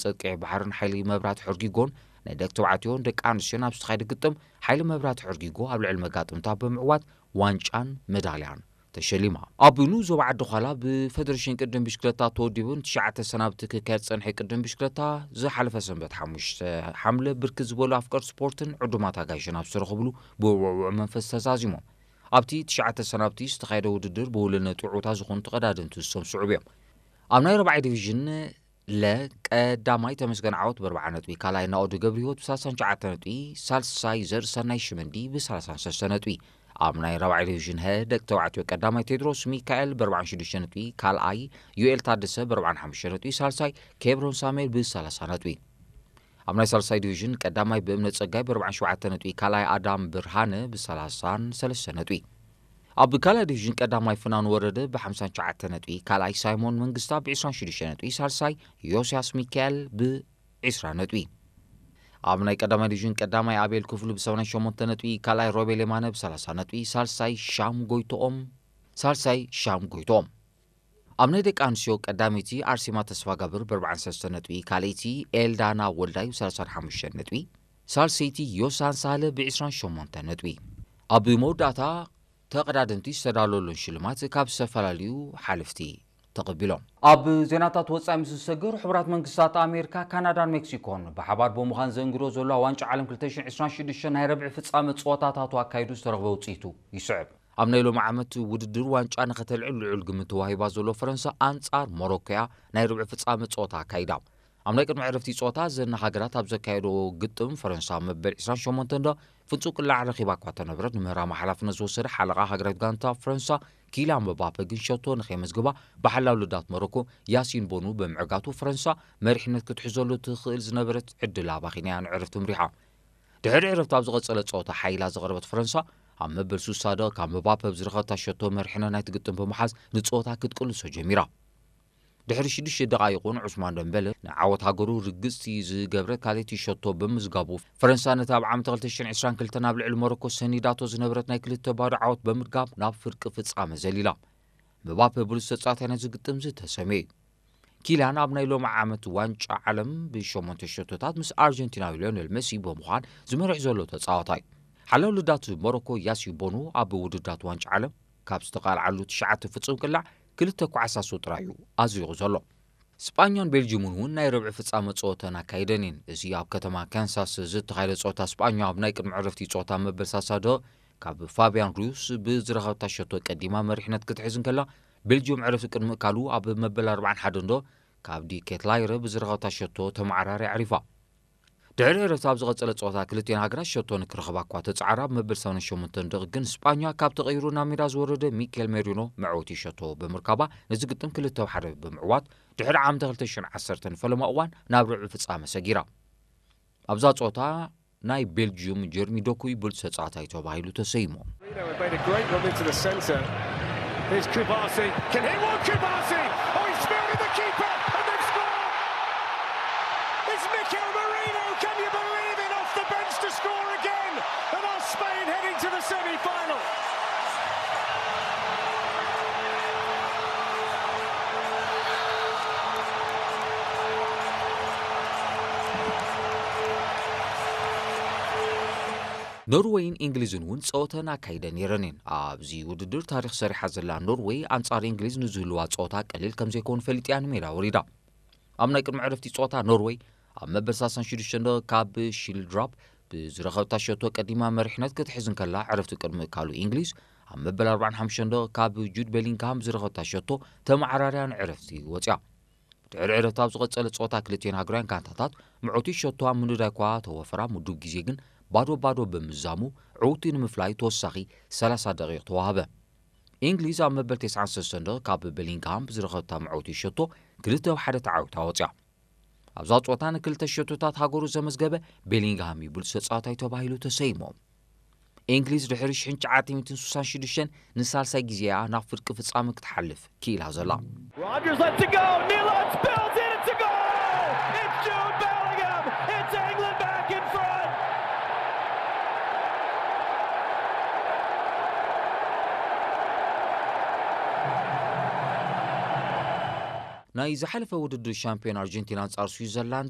ጸቂዒ ባሕርን ሓይሊ መብራህቲ ሕርጊጎን ናይ ደቂ ተባዕትዮን ደቂ ኣንስትዮን ኣብ ዝተኻየደ ግጥም ሓይሊ መብራህቲ ሕርጊጎ ኣብ ልዕሊ መጋጥምታ ብምዕዋት ዋንጫን መዳልያን ተሸሊማ። ኣብ ኑዞ ዓዲ ዃላ ብፈደሬሽን ቅድም ብሽክለታ ተወዲቡን ትሽዓተ ሰናብቲ ክካየድ ዝጸንሐ ቅድም ብሽክለታ ዝሓለፈ ሰንበት ሓሙሽተ ሓምለ ብርክት ዝበሉ ኣፍቀር ስፖርትን ዕዱማት ኣጋይሽን ኣብ ዝተረኽብሉ ብውዕውዕ መንፈስ ተዛዚሞም። ኣብቲ ትሽዓተ ሰናብቲ ዝተኻየደ ውድድር ብውልነት ውዑታ ዝኾኑ ተቐዳደምቲ ዝሰምስዑ እዮም። ኣብ ናይ ረባዒ ዲቪዥን ለ ቀዳማይ ተመስገን ዓወት ብኣርባዓ ነጥቢ፣ ካልኣይ ናኦድ ገብረ ህይወት ብሰላሳን ትሽዓተ ነጥቢ፣ ሳልሳይ ዘርእሰናይ ሽመንዲ ብሰላሳን ሰለስተ ነጥቢ። ኣብ ናይ ራብዓይ ዲቪዥን ሀ ደቂ ተባዕትዮ ቀዳማይ ቴድሮስ ሚካኤል ብኣርባዓን ሽዱሽተ ነጥቢ፣ ካልኣይ ዩኤል ታደሰ ብኣርባዓን ሓሙሽተ ነጥቢ፣ ሳልሳይ ኬብሮን ሳሙኤል ብሰላሳ ነጥቢ። ኣብ ናይ ሳልሳይ ዲቪዥን ቀዳማይ ብእምነት ጸጋይ ብኣርባዓን ሸውዓተ ነጥቢ፣ ካልኣይ ኣዳም ብርሃነ ብሰላሳን ሰለስተ ነጥቢ። ኣብ ካልኣይ ዲቪዥን ቀዳማይ ፍናን ወረደ ብሓምሳን ትሽዓተ ነጥቢ፣ ካልኣይ ሳይሞን መንግስታ ብዕስራን ሽዱሽተ ነጥቢ፣ ሳልሳይ ዮስያስ ሚካኤል ብዕስራ ነጥቢ። ኣብ ናይ ቀዳማይ ዲቪዥን ቀዳማይ ኣቤል ክፍሉ ብሰማንያን ሸሞንተ ነጥቢ፣ ካልኣይ ሮቤል የማነ ብሰላሳ ነጥቢ፣ ሳልሳይ ሻም ጎይቶኦም፣ ሳልሳይ ሻም ጎይቶኦም። ኣብ ናይ ደቂ ኣንስትዮ ቀዳመይቲ ኣርሴማ ተስፋጋብር ብኣርባዓን ሰለስተ ነጥቢ፣ ካልኣይቲ ኤልዳና ወልዳይ ብሰላሳን ሓሙሽተ ነጥቢ፣ ሳልሰይቲ ዮሳን ሳህለ ብዕስራን ሸሞንተ ነጥቢ። ኣብ መወዳእታ ተቐዳደምቲ ዝተዳለወሎም ሽልማት ካብ ዝተፈላለዩ ሓለፍቲ ተቐቢሎም። ኣብ ዜናታት ወጻኢ ምስ ዝሰግር፣ ሕቡራት መንግስታት ኣሜሪካ፣ ካናዳን ሜክሲኮን ብሓባር ብምዃን ዘእንግዶ ዘለዋ ዋንጫ ዓለም ክልተ ሽሕን ዕስራን ሽዱሽተን ናይ ረብዒ ፍጻመ ጸወታታቱ ኣካይዱ ዝተረኽበ ውጽኢቱ ይስዕብ። ኣብ ናይ ሎሚ ዓመት ውድድር ዋንጫ ንኸተልዕል ልዑል ግምት ተዋሂባ ዘሎ ፈረንሳ ኣንጻር ሞሮኮያ ናይ ርብዒ ፍጻመ ጸወታ ኣካይዳ። ኣብ ናይ ቅድሚ ዕረፍቲ ጸወታ ዘና ሃገራት ኣብ ዘካየዶ ግጥም ፈረንሳ መበል ዕስራን ሸሞንተን ዶ ፍጹም ቅላዕ ረኺባ እኳ ተነበረት፣ ንምህራማ ሓላፍነት ዝወሰደ ሓለቓ ሃገራዊት ጋንታ ፈረንሳ ኪልያን ምባፔ ግን ሸቶ ንኸየመዝግባ ብሓላው ልዳት ሞሮኮ ያሲን ቦኑ ብምዕጋቱ ፈረንሳ መሪሕነት ክትሕዘሉ ትኽእል ዝነበረት ዕድል ኣባኺና እያ ንዕረፍቲ ምሪሓ። ድሕሪ ዕረፍቲ ኣብ ዝቐጸለ ጸወታ ሓይላ ዝቐረበት ፈረንሳ ኣብ መበል ሱሳ ደቂቕ ካብ ምባፔ ብዝረኸበታ ሸቶ መሪሕነት ናይቲ ግጥም ብምሓዝ ንጸወታ ክትቅልሶ ጀሚራ። ድሕሪ ሽዱሽተ ደቓይቕ እውን ዑስማን ደምበለ ንዓወት ሃገሩ ርግጽቲ ዝገብረ ካልኣይቲ ሸቶ ብምዝጋቡ፣ ፈረንሳ ነቲ ኣብ ዓመተ ክልተ ሽሕን ዕስራን ክልተን ኣብ ልዕሊ ሞሮኮ ሰኒዳቶ ዝነበረት ናይ ክልተ ባዶ ዓወት ብምድጋም ናብ ፍርቂ ፍጻመ ዘሊላ። ምባፔ ብሉጽ ተጻዋታይ ናይዚ ግጥም ዝተሰምየ እዩ። ኪልያን ኣብ ናይ ሎሚ ዓመት ዋንጫ ዓለም ብሸሞንተ ሸቶታት ምስ ኣርጀንቲናዊ ሊዮኔል መሲ ብምዃን ዝመርሕ ዘሎ ተጻዋታይ። ሓላው ልዳት ሞሮኮ ያሲን ቦኑ ኣብ ውድድራት ዋንጫ ዓለም ካብ ዝተቓልዓሉ ትሽዓተ ፍጹም ቅላዕ ክልተ ኳዕሳሱ ጥራይ እዩ ኣዝሪቑ ዘሎ። ስጳኛን ቤልጅምን እውን ናይ ረብዒ ፍጻመ ጸወተን ኣካይደን እየን። እዚ ኣብ ከተማ ካንሳስ ዝተኻየደ ጸወታ ስጳኛ ኣብ ናይ ቅድሚ ዕረፍቲ ጸወታ መበል ሳሳ ዶ ካብ ፋብያን ሩስ ብዝረኸብታ ሸቶ ቀዲማ መሪሕነት ክትሕዝ እንከላ፣ ቤልጅም ዕረፍቲ ቅድሚ እካሉ ኣብ መበል ኣርባዓን ሓደን ዶ ካብ ዲ ኬትላይረ ብዝረኸብታ ሸቶ ተመዓራሪ ኣዕሪፋ። ድሕሪ ዕረፍቲ ኣብ ዝቐጸለ ጸወታ ክልቲኤን ሃገራት ሸቶ ንክረኽባ እኳ ተጻዕራ፣ ኣብ መበል ሰማንያን ሸሞንተን ደቒቕ ግን ስጳኛ ካብ ተቐይሩ ናብ ሜዳ ዝወረደ ሚኬል ሜሪኖ መዕወቲ ሸቶ ብምርካባ ነዚ ግጥም ክልተ ሓደ ብምዕዋት ድሕሪ ዓመተ ክልተ ሽሕን ዓሰርተን ፈለማ እዋን ናብ ርብዒ ፍጻመ ሰጊራ። ኣብዛ ጸወታ ናይ ቤልጅዩም ጀርሚ ዶኩ ብሉጽ ተጻዋታይ ተባሂሉ ተሰይሙ። Made a great run into the centre. Here's Kubasi. Can hit one, Kubasi! Oh, he spilled in the keeper and they've scored! It's Mikel Merino, can you believe it, off the bench to score again? And are Spain heading to the semi-final? ኖርወይን እንግሊዝን እውን ጸወተን ኣካይደን ነይረን እየን። ኣብዚ ውድድር ታሪኽ ሰሪሓ ዘላ ኖርወይ ኣንጻር እንግሊዝ ንዝህልዋ ጸወታ ቀሊል ከም ዘይከውን ፈሊጥያ ንሜዳ ወሪዳ። ኣብ ናይ ቅድሚ ዕረፍቲ ጸወታ ኖርወይ ኣብ መበል ሰላሳን ሽዱሽተን ደቂቕ ካብ ሺልድራፕ ብዝረኸብታ ሸቶ ቀዲማ መሪሕነት ክትሕዝ እንከላ፣ ዕረፍቲ ቅድሚ እካሉ እንግሊዝ ኣብ መበል ኣርባዓን ሓሙሽተን ደቂቕ ካብ ጁድ ቤሊንግሃም ዝረኸብታ ሸቶ ተመዓራርያ ንዕረፍቲ ወጽያ። ድሕሪ ዕረፍቲ ኣብ ዝቐጸለ ጸወታ ክልቲኤን ሃገራውያን ጋንታታት ምዕውቲ ሸቶ ኣብ ምንዳይ እኳ ተወፈራ፣ ምዱብ ግዜ ግን ባዶ ባዶ ብምዛሙ ዕውቲ ንምፍላይ ተወሳኺ ሰላሳ ደቂቕ ተዋህበ። እንግሊዝ ኣብ መበል ተስዓን ሰለስተን ደቂቕ ካብ ቤሊንግሃም ብዝረኸብታ ምዕውቲ ሸቶ ክልተ ብ ሓደ ተዓዊታ ወጽያ። ኣብዛ ጸወታ ንክልተ ሸቶታት ሃገሩ ዘመዝገበ ቤሊንግሃም እዩ ብሉጽ ተጻዋታይ ተባሂሉ ተሰይሙ። እንግሊዝ ድሕሪ ሽሕን ትሽዓተ ሚእትን ስሳን ሽዱሽተን ንሳልሳይ ግዜኣ ናብ ፍርቂ ፍጻመ ክትሓልፍ ክኢላ ዘላ። Rodgers lets it go. Neal Arts bells it. It's a goal. It's Jude Bellingham. It's England back in front. ናይ ዝሓለፈ ውድድር ሻምፒዮን ኣርጀንቲና ኣንጻር ስዊዘርላንድ